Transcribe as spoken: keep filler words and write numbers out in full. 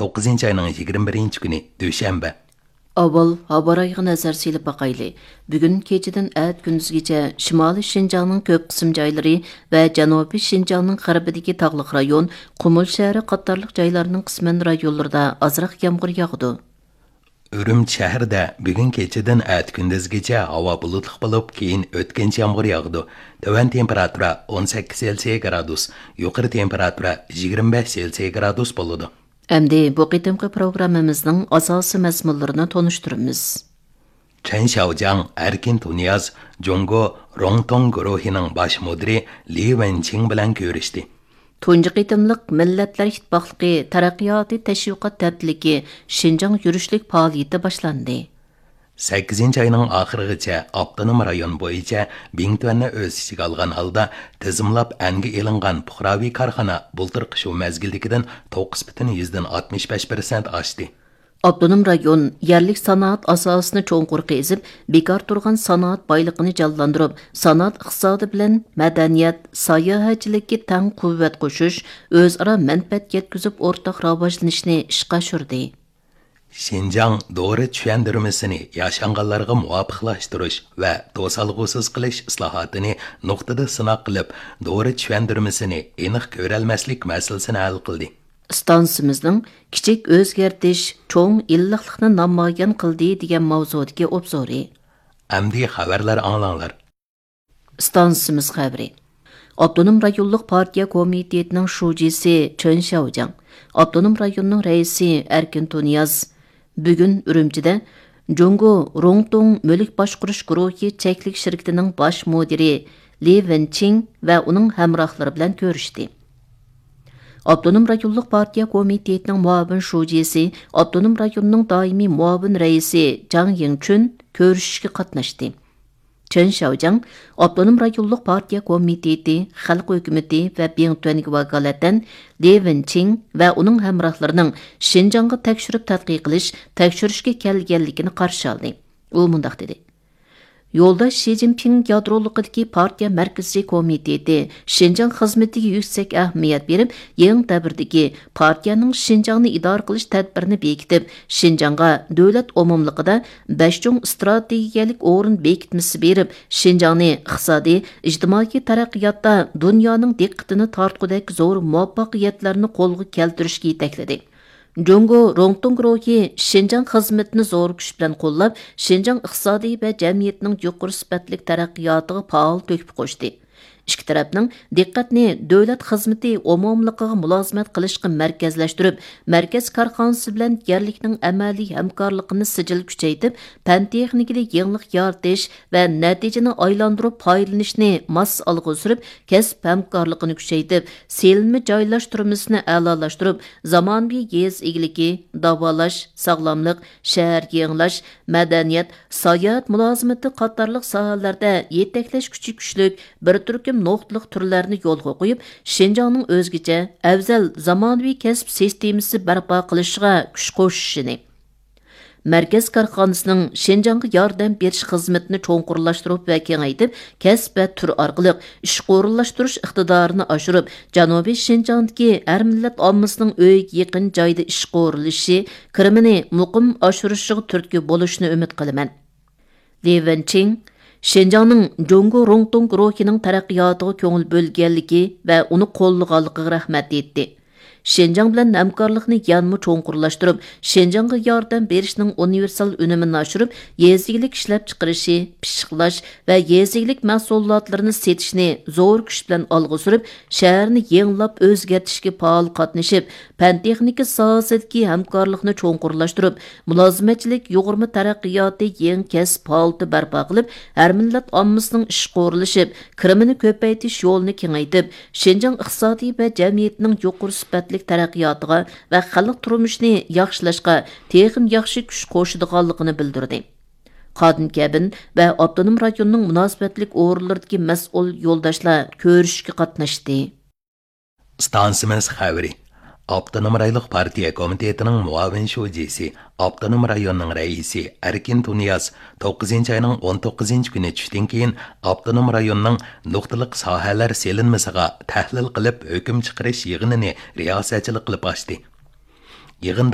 توققۇزىنچى ئاينىڭ يىگىرمە بىرىنچى كۈنى، دۈشەنبە. ئاۋۋال ھاۋا رايىغا نەزەر سېلىپ باقايلى. بۈگۈن كېچىدىن ئەتە كۈندۈزگىچە شىمالىي شىنجاڭنىڭ كۆپ قىسىم جايلىرى ۋە جەنۇبىي شىنجاڭنىڭ غەربىدىكى تاغلىق رايون، قۇمۇل شەھىرى قاتارلىق جايلارنىڭ قىسمەن رايونلىرىدا ئازراق يامغۇر ياغىدۇ. ئۈرۈمچى شەھىرىدە بۈگۈن كېچىدىن ئەتە كۈندۈزگىچە ھاۋا بۇلۇتلۇق بولۇپ، كېيىن ئۆتكۈنچى يامغۇر ياغىدۇ. تۆۋەن تېمپېراتۇرا ئون سەككىز سېلسىيە گرادۇس، يۇقىرى تېمپېراتۇرا يىگىرمە بەش سېلسىيە گرادۇس بولىدۇ. ئەمدى بۇ قېتىمقى پروگراممىمىزنىڭ ئاساسىي مەزمۇنلىرىنى تونۇشتۇرىمىز. چېن شياۋجياڭ، ئەركىن تۇنىياز، جۇڭگو روڭتوڭ گۇرۇھىنىڭ باش مۇدىرى لى ۋېنچىڭ بىلەن كۆرۈشتى. تۇنجى قېتىملىق مىللەتلەر ئىتتىپاقلىقى تەرەققىياتى تەشۋىقات ھەپتىلىكى شىنجاڭ يۈرۈشلۈك پائالىيىتى باشلاندى. سەككىزىنچى ئاينىڭ ئاخىرىغىچە ئاپتونوم رايون بويىچە بىڭتۈەننى ئۆز ئىچىگە ئالغان ھالدا تىزىملاپ ئەنگە ئېلىنغان پۇقراۋى كارخانا بۇلتۇرقى شۇ مەزگىلدىكىدىن توققۇز پۈتۈن يۈزدىن ئاتمىش بەش پىرسەنت ئاشتى. ئاپتونوم رايون يەرلىك سانائەت ئاساسىنى چوڭقۇر قېزىپ، بىكار تۇرغان سانائەت بايلىقىنى جانلاندۇرۇپ، سانائەت ئىقتىسادى بىلەن مەدەنىيەت، ساياھەتچىلىككە تەڭ قۇۋۋەت قوشۇش، ئۆزئارا مەنپەئەت يەتكۈزۈپ ئورتاق راۋاجلىنىشنى ئىشقا ئاشۇردى. شىنجاڭ دورا چۈشەندۈرمىسىنى ياشانغانلارغا مۇۋاپىقلاشتۇرۇش ۋە توسالغۇسىز قىلىش ئىسلاھاتىنى نۇقتىدا سىناق قىلىپ، دورا چۈشەندۈرمىسىنى ئېنىق كۆرەلمەسلىك مەسىلىسىنى ھەل قىلدى. ئىستانسىمىزنىڭ كىچىك ئۆزگەرتىش چوڭ ئىللىقلىقنى نامايان قىلدى دېگەن ماۋزۇدىكى ئوبزورى. ئەمدى خەۋەرلەر ئاڭلاڭلار. ئىستانسىمىز خەۋىرى. ئاپتونوم رايونلۇق پارتىيە كومىتېتىنىڭ شۇجىسى چېن شياۋجياڭ، ئاپتونوم رايوننىڭ رەئىسى ئەركىن تۇنىياز بۈگۈن ئۈرۈمچىدە جۇڭگو روڭتوڭ مۈلۈك باشقۇرۇش گۇرۇھى چەكلىك شىركىتىنىڭ باش مۇدىرى لى ۋېنچىڭ ۋە ئۇنىڭ ھەمراھلىرى بىلەن كۆرۈشتى. ئاپتونوم رايونلۇق پارتىيە كومىتېتىنىڭ مۇئاۋىن شۇجىسى، ئاپتونوم رايوننىڭ دائىمىي مۇئاۋىن رەئىسى جاڭ يىڭچۈن كۆرۈشۈشكە قاتناشتى. چېن شياۋجياڭ ئاپتونوم رايونلۇق پارتىيە كومىتېتى، خەلق ھۆكۈمىتى ۋە بىڭتۈەنگە ۋاكالىتەن لى ۋېنچىڭ ۋە ئۇنىڭ ھەمراھلىرىنىڭ شىنجاڭغا تەكشۈرۈپ تەتقىق قىلىش، تەكشۈرۈشكە كەلگەنلىكىنى قارشى ئالدى. ئۇ مۇنداق دېدى: يولداش شى جىنپىڭ يادرولۇقىدىكى پارتىيە مەركىزىي كومىتېتى شىنجاڭ خىزمىتىگە يۈكسەك ئەھمىيەت بېرىپ، يېڭى دەۋردىكى پارتىيەنىڭ شىنجاڭنى ئىدارە قىلىش تەدبىرىنى بېكىتىپ، شىنجاڭغا دۆلەت ئومۇملۇقىدا بەش چوڭ ئىستراتېگىيەلىك ئورۇن بېكىتمىسى بېرىپ، شىنجاڭنى ئىقتىسادىي، ئىجتىمائىي تەرەققىياتتا دۇنيانىڭ دىققىتىنى تارتقۇدەك زور مۇۋەپپەقىيەتلەرنى قولغا كەلتۈرۈشكە يېتەكلىدى. جۇڭگو روڭتوڭ گۇرۇھى شىنجاڭ خىزمىتىنى زور كۈچ بىلەن قوللاپ، شىنجاڭ ئىقتىسادى ۋە جەمئىيىتىنىڭ يۇقىرى سۈپەتلىك تەرەققىياتىغا پائال تۆھپە قوشتى. ئىككى تەرەپنىڭ دىققەتنى دۆلەت خىزمىتى ئومۇملۇقىغا مۇلازىمەت قىلىشقا مەركەزلەشتۈرۈپ، مەركەز كارخانىسى بىلەن يەرلىكنىڭ ئەمەلىي ھەمكارلىقىنى سىجىل كۈچەيتىپ، پەن تېخنىكىدا يېڭىلىق يارىتىش ۋە نەتىجىنى ئايلاندۇرۇپ پايدىلىنىشنى ماس ئالغا سۈرۈپ، كەسىپ ھەمكارلىقىنى كۈچەيتىپ، سېلىنما جايلاشتۇرمىسىنى ئەلالاشتۇرۇپ، زامانىۋى يېزا ئىگىلىكى، داۋالاش، ساغلاملىق، شەھەر يېڭىلاش، مەدەنىيەت، ساياھەت مۇلازىمىتى قاتارلىق ساھەلەردە يېتەكلەش كۈچى كۈچلۈك بىر تۈركۈم نۇقتىلىق تۈرلەرنى يولغا قويۇپ، شىنجاڭنىڭ ئۆزگىچە، ئەۋزەل زامانىۋى كەسىپ سىستېمىسى بەرپا قىلىشىغا كۈچ قوشۇشىنى، مەركەز كارخانىسىنىڭ شىنجاڭغا ياردەم بېرىش خىزمىتىنى چوڭقۇرلاشتۇرۇپ ۋە كېڭەيتىپ، كەسىپ ۋە تۈر ئارقىلىق ئىشقا ئورۇنلاشتۇرۇش ئىقتىدارىنى ئاشۇرۇپ، جەنۇبىي شىنجاڭدىكى ھەر مىللەت ئاممىسىنىڭ ئۆيىگە يېقىن جايدا ئىشقا ئورۇنلىشىشى، كىرىمىنى مۇقىم ئاشۇرۇشىغا تۈرتكە بولۇشىنى ئۈمىد قىلىمەن. لى ۋېنچىڭ شىنجاڭنىڭ جۇڭگو روڭتوڭ گۇرۇھىنىڭ تەرەققىياتىغا كۆڭۈل بۆلگەنلىكى ۋە ئۇنى قوللىغانلىقىغا رەھمەت ئېيتتى. شىنجاڭ بىلەن ھەمكارلىقنى يەنىمۇ چوڭقۇرلاشتۇرۇپ، شىنجاڭغا ياردەم بېرىشنىڭ ئۇنىۋېرسال ئۈنۈمىنى ئاشۇرۇپ، يېزا ئىگىلىك ئىشلەپچىقىرىشى، پىششىقلاش ۋە يېزا ئىگىلىك مەھسۇلاتلىرىنى سېتىشنى زور كۈچ بىلەن ئالغا سۈرۈپ، شەھەرنى يېڭىلاپ ئۆزگەرتىشكە پائال قاتنىشىپ، پەن-تېخنىكا ساھەسىدىكى ھەمكارلىقنى چوڭقۇرلاشتۇرۇپ، مۇلازىمەتچىلىك يۇغۇرما تەرەققىياتى يېڭى كەسىپ ھالىتى بەرپا قىلىپ، ھەر مىللەت ئاممىسىنىڭ ئىشقا ئورۇنلىشىپ، كىرىمىنى كۆپەيتىش يولىنى كېڭەيتىپ، شىنجاڭ ئىقتىسادى ۋە جەمئىيىتىنىڭ يۇقىرى سۈپەتلىك تەرەققىياتىغا ۋە خەلق تۇرمۇشىنى ياخشىلاشقا تېخىمۇ ياخشى كۈچ قوشىدىغانلىقىنى بىلدۈردى. قادىم كەبىن ۋە ئاپتونوم رايوننىڭ مۇناسىۋەتلىك ئورۇنلىرىدىكى مەسئۇل يولداشلار كۆرۈشۈشكە قاتناشتى. ئىستانسىمىز خەۋىرى. ئاپتونوم رايونلۇق پارتىيە كومىتېتىنىڭ مۇئاۋىن شۇجىسى، ئاپتونوم رايوننىڭ رەئىسى ئەركىن تۇنىياز توققۇزىنچى ئاينىڭ ئون توققۇزىنچى كۈنى چۈشتىن كېيىن ئاپتونوم رايوننىڭ نۇقتىلىق ساھەلەر سېلىنمىسىغا تەھلىل قىلىپ ھۆكۈم چىقىرىش يىغىنىنى رىياسەتچىلىك قىلىپ ئاچتى. يىغىن